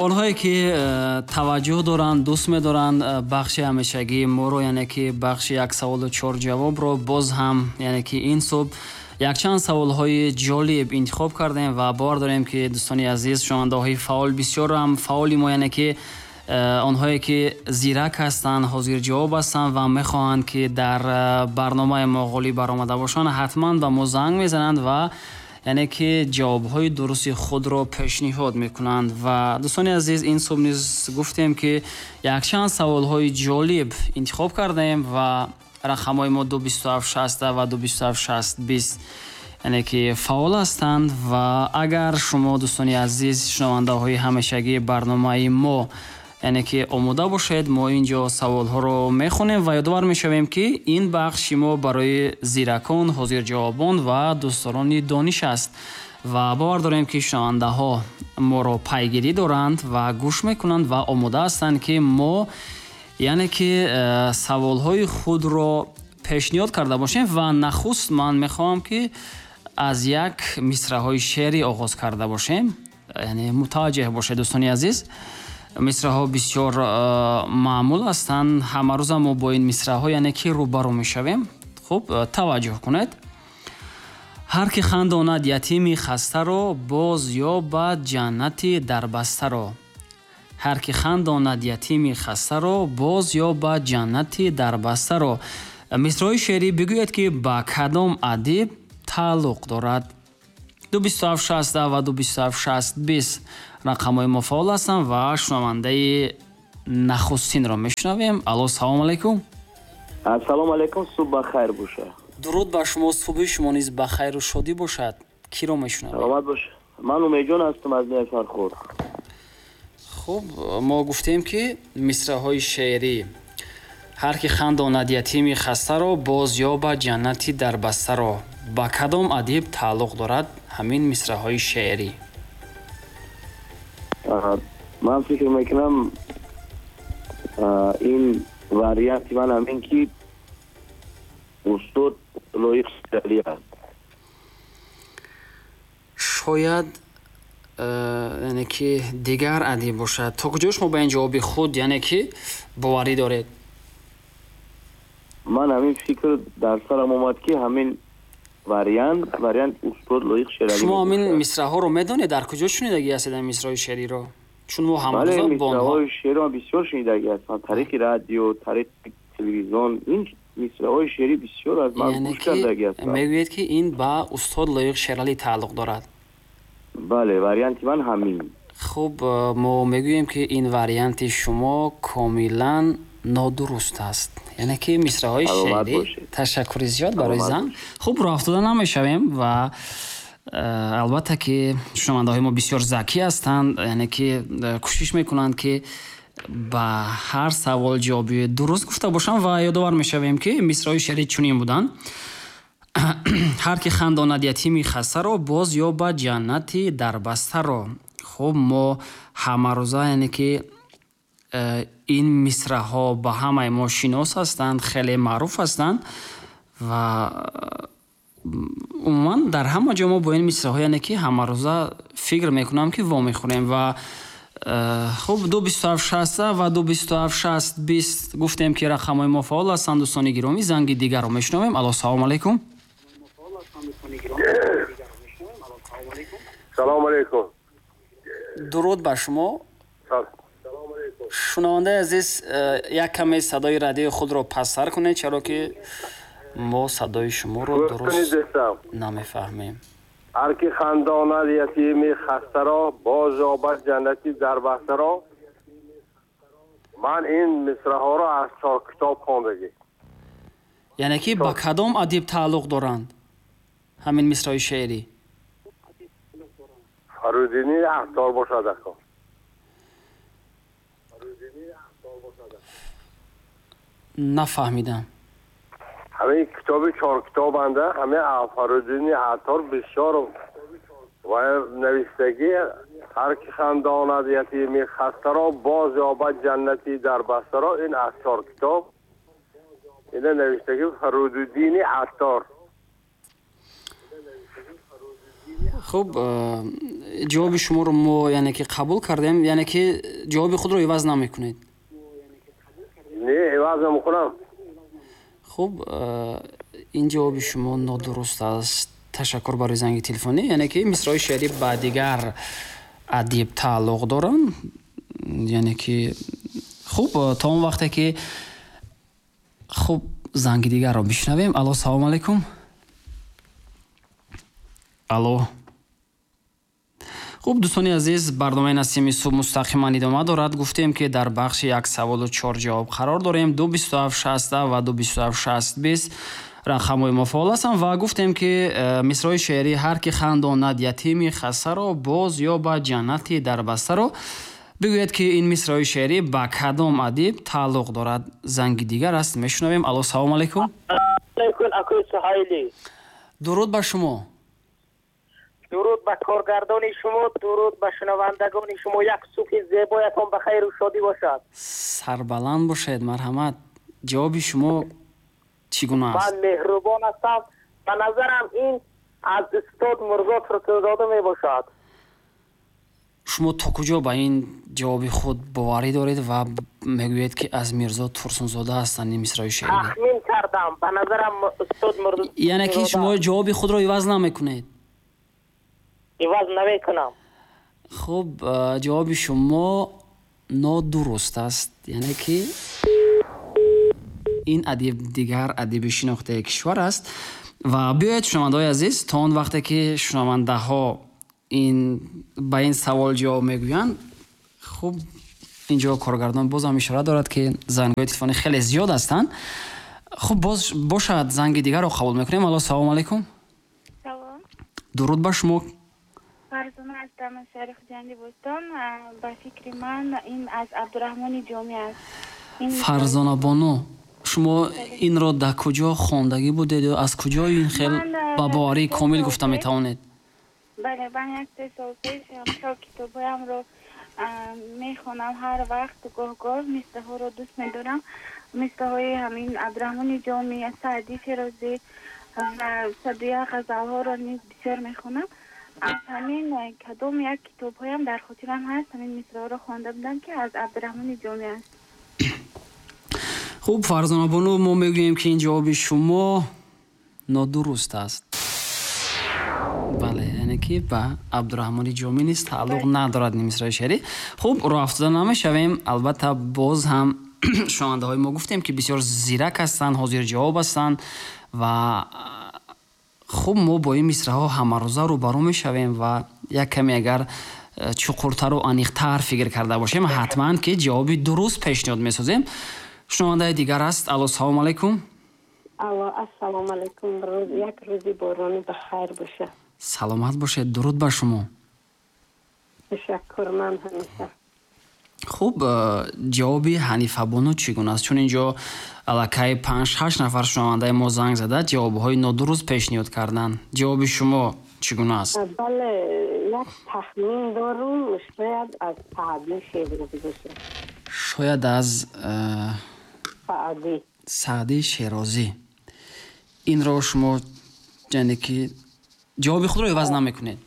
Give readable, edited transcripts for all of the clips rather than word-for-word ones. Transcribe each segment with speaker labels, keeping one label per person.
Speaker 1: Онҳое ки таваҷҷӯҳ доранд, дӯст медоранд бахши ҳамешагии моро, яъне ки бахши як саволу чор ҷавобро, боз ҳам яъне ки ин субҳ якчанд саволҳои ҷолиб интихоб кардем ва бовар дорем, ки дӯстони азиз, шунавандаҳои фаъол, бисёрам фаъоли мо, яъне ки онҳое ки зирак ҳастанд, ҳозирҷавоб ҳастанд ва мехоҳанд, ки дар барномаи мо ғолиб баромада бошанд, ҳатман ба мо занг мезананд ва яъне ки ҷавобҳои дурусти худро пешниҳод мекунанд. Ва дӯстони азиз, ин субҳ низ гуфтем, ки якчанд саволҳои ҷолиб интихоб кардаем ва рақамҳои мо 227 60 ва 227 60 20, яъне ки фаъол ҳастанд. Ва агар шумо, дӯстони азиз, шунавандаҳои ҳамешагии барномаи мо, яъне ки омода бошед, мо ин ҷо саволҳоро мехонем ва ёдовар мешавем, ки ин бахши мо барои зиракон, ҳозирҷавобон ва дӯстдорони дониш аст. Ва бовар дорем, ки шунавандаҳо моро пайгирӣ доранд ва гӯш мекунанд ва омода ҳастанд, ки мо яъне ки саволҳои худро пешниҳод карда бошем. Ва нахуст ман мехоҳам, ки аз як мисраҳои шеърӣ оғоз карда бошем. Яъне мутаваҷҷеҳ бошед, дӯстони азиз, мисраҳо бисёр маъмул ҳастанд, ҳамарӯза мо бо ин мисраҳо яъне ки рӯбарӯ мешавем. Хуб, таваҷҷӯҳ кунед. Ҳар ки хандонад ятими хастаро, боз ёбад ҷаннати дарбастаро. Ҳар ки хандонад ятими хастаро, боз ёбад ҷаннати дарбастаро. Мисраҳои шеърӣ, бигӯед, ки ба кадом адиб тааллуқ дорад? 227 60 ва 227 60 20 рақамҳои мо фаъол ҳастанд ва шунавандаи нахустинро мешунавем. Алло, салому алайкум.
Speaker 2: Ассалому алайкум, субҳ ба хайр боша.
Speaker 1: Дуруд ба шумо, субҳи шумо низ ба хайру шодӣ бошад. Киро мешунавем?
Speaker 2: Саломат бош, ман Умедҷон ҳастам аз ноҳияи Фархор.
Speaker 1: Хуб, мо гуфтем, ки мисраҳои шеърӣ: ҳар ки хандонад ятими хастаро, боз ёбад ҷаннати дарбастаро. Ба кадом адиб тааллуқ дорад ҳамин мисраҳои шеърӣ?
Speaker 2: Ман фикр мекунам, ин варианти ман ҳамин, ки устод Лоиқ Шералӣ аст.
Speaker 1: Шояд яъне ки дигар адиб бошад. То куҷо шумо ба ин ҷавоби худ яъне ки боварӣ доред?
Speaker 2: Ман ҳамин фикр дар сарам омад, ки ҳамин вариант устод Лоиқ Шералӣ.
Speaker 1: Шумо ҳамин мисраҳоро медонед? Дар куҷо шунидагӣ ҳастед ҳамин мисраҳои шеъриро? Чун мо ҳамарӯза бо онҳо
Speaker 2: Мисраҳои шеъриро бисёр шунидагӣ ҳастам, тариқи радио, тариқи телевизион. Ин мисраҳои шеърӣ бисёр аз ман
Speaker 1: Яъне
Speaker 2: гӯш
Speaker 1: ки
Speaker 2: кардагӣ ҳастам.
Speaker 1: мегӯед, ки ин ба устод Лоиқ Шералӣ тааллуқ дорад?
Speaker 2: Бале, варианти ман ҳамин.
Speaker 1: Хуб, мо мегӯем, ки ин варианти шумо комилан нодуруст аст, яъне ки мисраҳои
Speaker 2: Саломат
Speaker 1: шеърӣ
Speaker 2: бошед.
Speaker 1: Ташаккури зиёд барои
Speaker 2: Саломат
Speaker 1: занг.
Speaker 2: бошед.
Speaker 1: Хуб, роҳ афтода намешавем ва албатта ки шунавандаҳои мо бисёр закӣ ҳастанд, яъне ки кӯшиш мекунанд, ки ба ҳар савол ҷавоби дуруст гуфта бошанд. Ва ёдовар мешавем, ки мисраҳои шеърӣ чунин буданд: ҳар ки хандонад ятими хастаро, боз ёбад ҷаннати дарбастаро. Хуб, мо ҳамарӯза яъне ки ин мисраҳо ба ҳамаи мо шинос ҳастанд, хеле маъруф ҳастанд ва умуман дар ҳама ҷо мо бо ин мисраҳо яъне ки ҳамарӯза, фикр мекунам, ки вомехӯрем. Ва хуб, 227 60 ва 227 60 20, гуфтем, ки рақамҳои мо фаъол ҳастанд. Дӯстони гиромӣ, занги дигарро мешунавем. Алло, салому алайкум.
Speaker 3: Салому алайкум.
Speaker 1: Дуруд ба шумо, шунавандаи азиз. Як каме садои радиои худро пасттар кунед, чаро ки мо садои шуморо дуруст намефаҳмем.
Speaker 3: Ҳар ки хандонад ятими хастаро, боз ёбад ҷаннати дарбастаро. Ман ин мисраҳоро аз чор китоб хондагӣ.
Speaker 1: Яъне ки ба кадом адиб тааллуқ доранд ҳамин мисраҳои шеърӣ?
Speaker 3: Фаридуни Аттор бошад ако.
Speaker 1: Нафаҳмидам.
Speaker 3: Ҳамин китоби чор китобанда, ҳамин Фаридуни Аттор бисёр ва навиштагӣ: ҳар ки хандонад ятими хастаро, боз ёбад ҷаннати дарбастаро. Ин аз чор китоб ина навиштагӣ Фаридуддини Аттор.
Speaker 1: Хуб, ҷавоби шуморо мо яъне ки қабул кардем, яъне ки ҷавоби худро иваз намекунед?
Speaker 3: Не, иваз намекунам.
Speaker 1: Хуб, ин ҷавоби шумо нодуруст аст. Ташаккур барои занги телефонӣ. Яъне ки мисраҳои шеърӣ ба дигар адиб тааллуқ доранд. Яъне ки хуб, то он вақте ки хуб занги дигарро бишнавем. Алло, салому алайкум. Алло. Хуб, дӯстони азиз, барномаи Насими субҳ мустақиман идома дорад. Гуфтем, ки дар бахши як саволу чор ҷавоб қарор дорем. 2 27 60 ва 2 27 60 20 рақамҳои мо фаъол ҳастанд ва гуфтем, ки мисраҳои шеърӣ «Ҳар ки хандонад ятими хастаро, боз ёбад ҷаннати дарбастаро», бигӯед, ки ин мисраҳои шеърӣ ба кадом адиб тааллуқ дорад. Занги дигар аст, мешунавем. Алло, салому алайкум. Дуруд ба шумо.
Speaker 4: Дуруд ба коргардони шумо, дуруд ба шунавандагони шумо. Як субҳи зебоятон ба хайру шодӣ бошад.
Speaker 1: Сарбаланд бошед, марҳамат. Ҷавоби шумо чӣ гуна аст?
Speaker 4: Ман Меҳрубон ҳастам. Ба назарам, ин аз устод Мирзо Турсунзода мебошад.
Speaker 1: Шумо то куҷо ба ин ҷавоби худ боварӣ доред ва мегӯед, ки аз Мирзо Турсунзода ҳастанд ин мисраи шеърӣ?
Speaker 4: Тахмин кардам, ба назарам устод Мирзо.
Speaker 1: Яъне ки шумо ҷавоби худро иваз намекунед?
Speaker 4: Иваз намекунам.
Speaker 1: Хуб, ҷавоби шумо нодуруст аст. Яъне ки ин адиб дигар адиби шинохтаи кишвар аст. Ва биёед, шунавандаҳои азиз, то он вақте ки шунавандаҳо ин ба ин савол ҷавоб мегӯянд, хуб, инҷо коргардон бозам ишора дорад, ки зангҳои телефонӣ хеле зиёд ҳастанд. Хуб, боз бошад, занги дигарро қабул мекунем. Алло, салому алайкум.
Speaker 5: Салом.
Speaker 1: Дуруд ба шумо.
Speaker 5: Фарзона ҳастам аз шаҳри Хуҷанди Бостон. Ба фикри ман, ин аз Абдураҳмони Ҷомӣ аст.
Speaker 1: Фарзона бону, шумо инро дар куҷо хондагӣ будед ё аз куҷо ин хел ба боварии комил гуфта метавонед?
Speaker 5: Бале, ман як се сол пеш хел китобҳоямро мехонам ҳар вақт, гоҳ-гоҳ мисраҳоро дӯст медорам, мисраҳои ҳамин Абдураҳмони Ҷомӣ, Саъдӣ Шерозӣ ва садуя ғазалҳоро низ бисёр мехонам. Аз ҳамин кадом як китобҳоям дар хотирам ҳаст, ҳамин мисраҳоро хонда будам, ки аз Абдураҳмони Ҷомӣ аст.
Speaker 1: Хуб, Фарзонабону, мо мегӯем, ки ин ҷавоби шумо нодуруст аст. Бале, яъне ки ба Абдураҳмони Ҷомӣ низ тааллуқ надорад ин мисраи шеърӣ. Хуб, роҳ афтода намешавем. Албатта, боз ҳам шунавандаҳои мо, гуфтем, ки бисёр зирак ҳастанд, ҳозирҷавоб ҳастанд ва хуб, мо бо ин мисраҳо ҳамарӯза рӯбарӯ мешавем ва як каме агар чуқуртару аниқтар фикр карда бошем, ҳатман ки ҷавоби дуруст пешниҳод месозем. Шунавандаи дигар аст. Алло, салому алайкум.
Speaker 6: Алло, ассалому алайкум. Як рӯзи борони ба хайр боша.
Speaker 1: Саломат бошед, дуруд ба шумо.
Speaker 6: Ташаккур, ман Ҳанифа.
Speaker 1: Хуб, ҷавоби Ҳанифабону чӣ гуна аст? Чун инҷо аллакай панҷ ҳашт нафар шунавандаи мо занг зада, ҷавобҳои нодуруст пешниҳод карданд. Ҷавоби шумо чӣ гуна аст?
Speaker 6: Бале, як тахмин дорум, шояд аз Саъдӣ Шерозӣ бошад.
Speaker 1: Шояд аз
Speaker 6: Саъдӣ.
Speaker 1: Саъдӣ Шерозӣ. Инро шумо, яъне ки ҷавоби худро иваз намекунед?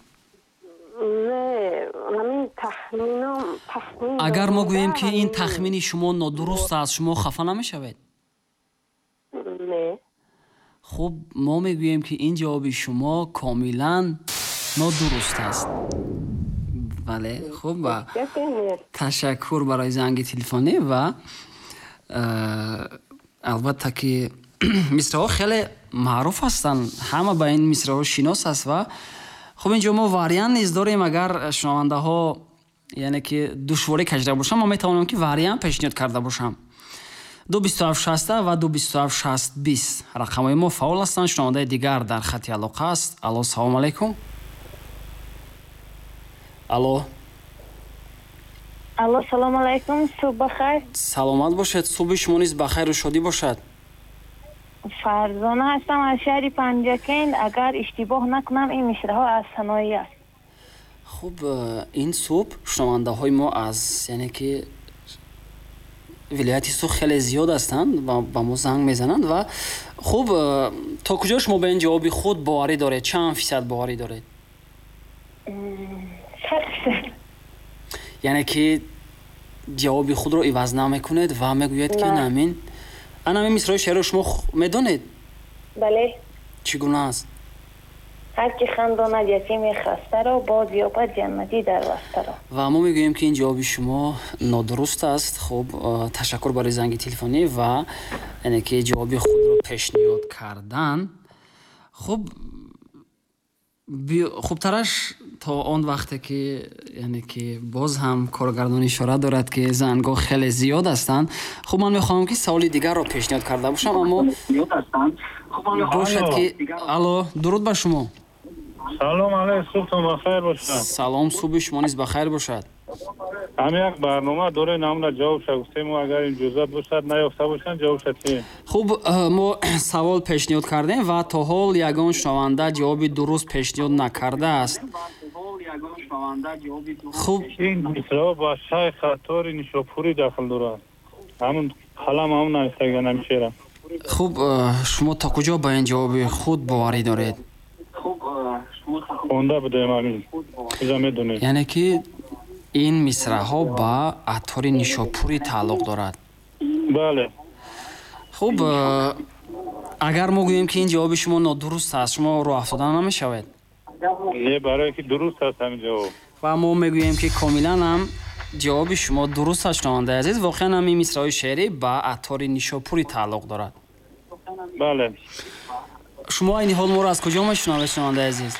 Speaker 6: Не, ҳамин тахминам, тахмин.
Speaker 1: Агар мо гӯем, ки ин тахмини шумо нодуруст аст, шумо хафа намешавед?
Speaker 6: Не.
Speaker 1: Хуб, мо мегӯем, ки ин ҷавоби шумо комилан нодуруст аст. Бале, хуб, ва ташаккур барои занги телефонӣ. Ва албатта ки мисраҳо хеле маъруф ҳастанд, ҳама ба ин мисраҳо шинос аст. Ва хуб, инҷо мо вариант низ дорем. Агар шунавандаҳо, яъне ки душворӣ кашида бошам, мо метавонем, ки вариант пешниҳод карда бошам. 2 27 60 ва 2 27 60 20 рақамҳои мо фаъол ҳастанд. Шунавандаи дигар дар хати алоқа аст. Алло, салому алайкум. Алло.
Speaker 5: Алло, салому алайкум, субҳ бахайр.
Speaker 1: Саломат бошед, субҳи шумо низ ба хайру шодӣ бошад.
Speaker 5: Фарзона ҳастам аз шаҳри Панҷакент. Агар иштибоҳ накунам, ин мисраҳо аз Саноӣ аст.
Speaker 1: Хуб, ин субҳ шунавандаҳои мо аз, яъне ки, вилояти Суғд хеле зиёд ҳастанд ва ба мо занг мезананд. Ва хуб, то куҷо шумо ба ин ҷавоби худ боварӣ доред? Чанд фисад боварӣ доред? Яъне ки ҷавоби худро иваз намекунед ва мегӯед ки ин ҳамин мисраи шеърро шумо медонед?
Speaker 7: Бале.
Speaker 1: Чӣ гуна аст?
Speaker 7: Ҳар ки хандонад ятими хастаро, боз ёбад ҷаннати дарбастаро.
Speaker 1: Ва мо мегӯем ки ин ҷавоби шумо нодуруст аст. Хуб, ташаккур барои занги телефонӣ ва яъне ки ҷавоби худро пешниҳод кардан. Хуб, хубтараш то он вақте ки яъне ки боз ҳам коргардон ишора дорад ки зангҳо хеле зиёд ҳастанд. Хуб, ман мехоҳам ки саволи дигарро пешниҳод карда бошам, аммо бошад ки алло, дуруд ба шумо.
Speaker 8: Салом алайкум, субҳтон бахайр бошад.
Speaker 1: Салом, субҳи шумо низ бахайр бошад.
Speaker 8: Ҳамин як барнома дорем, намуна ҷавобша гуфтем, агар иҷозат бошад, наёфта бошанд, ҷавобша тиҳем.
Speaker 1: Хуб, мо савол пешниҳод кардем ва то ҳол ягон шунаванда ҷавоби дуруст пешниҳод накардааст. Хуб,
Speaker 8: ин мисраъ ба Шайх Аттори Нишопурӣ дахл дорад. Ҳамун қалам ҳамун навиштаган ҳамин шеъра.
Speaker 1: Хуб, шумо то куҷо ба ин ҷавоби худ боварӣ доред?
Speaker 8: Хонда будем ҳамин, чиза медонем.
Speaker 1: Яъне ки ин мисраъҳо ба Аттори Нишопурӣ тааллуқ дорад?
Speaker 8: Бале.
Speaker 1: Хуб, агар мо гӯем ки ин ҷавоби шумо нодуруст аст, шумо роҳ афтода намешавед?
Speaker 8: Не, барое ки дуруст аст ҳамин ҷавоб.
Speaker 1: Ва мо мегӯем ки комилан ҳам ҷавоби шумо дуруст аст, шунавандаи азиз. Воқеан ҳам ин мисраъҳои шеърӣ ба Аттори Нишопурӣ тааллуқ дорад.
Speaker 8: Бале.
Speaker 1: Шумо айни ҳол моро аз куҷо мешунавед, шунавандаи азиз?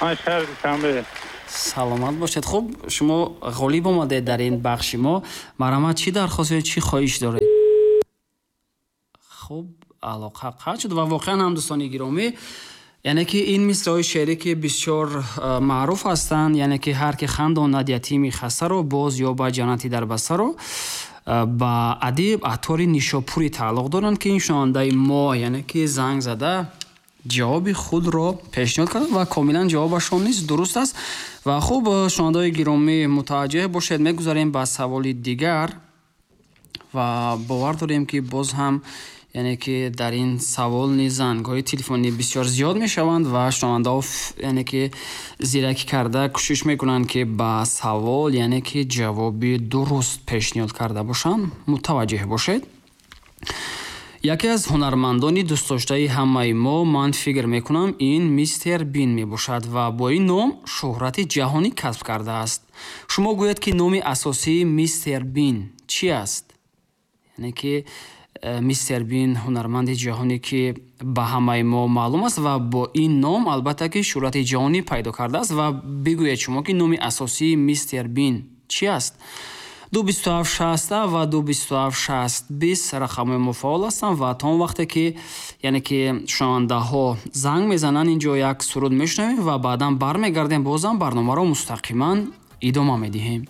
Speaker 8: Ман шаҳри Душанбе.
Speaker 1: Саломат бошед. Хуб, шумо ғолиб омадед дар ин бахши мо. Марҳамат, чӣ дархост ё чӣ хоҳиш доред? Хуб, алоқа қатъ шуд ва воқеан ҳам дӯстони гиромӣ, яъне ки ин мисраъҳои шеърӣ ки бисёр маъруф ҳастанд, яъне ки ҳар ки хандонад ятими хастаро, боз ёбад ҷаннати дарбастаро, ба адиб Аттори Нишопурӣ тааллуқ доранд ки ин шунавандаи мо яъне ки занг зада ҷавоби худро пешниҳод кард ва комилан ҷавобашон низ дуруст аст. Ва хуб, шунавандаҳои гиромӣ, мутаваҷҷеҳ бошед, мегузарем ба саволи дигар ва бовар дорем ки боз ҳам яъне ки дар ин савол низ зангҳои телефонӣ бисёр зиёд мешаванд ва шунавандаҳо яъне ки зиракӣ карда кӯшиш мекунанд ки ба савол яъне ки ҷавоби дуруст пешниҳод карда бошанд. Мутаваҷҷеҳ бошед. Яке аз ҳунармандони дӯстдоштаи ҳамаи мо, ман фикр мекунам, ин Мистер Бин мебошад ва бо ин ном шӯҳрати ҷаҳонӣ касб кардааст. Шумо гӯед ки номи асосии Мистер Бин чӣ аст? Яъне ки Мистер Бин ҳунарманди ҷаҳонӣ ки ба ҳамаи мо маълум аст ва бо ин ном албатта ки шӯҳрати ҷаҳонӣ пайдо кардааст ва бигӯед шумо ки номи асосии Мистер Бин чӣ аст? 227 60 ва 227 60 20 рақамҳои мо фаъол ҳастанд ва то он вақте ки яъне ки шунавандаҳо занг мезананд, инҷо як суруд мешунавем ва баъдан бармегардем, бозам барномаро мустақиман идома медиҳем.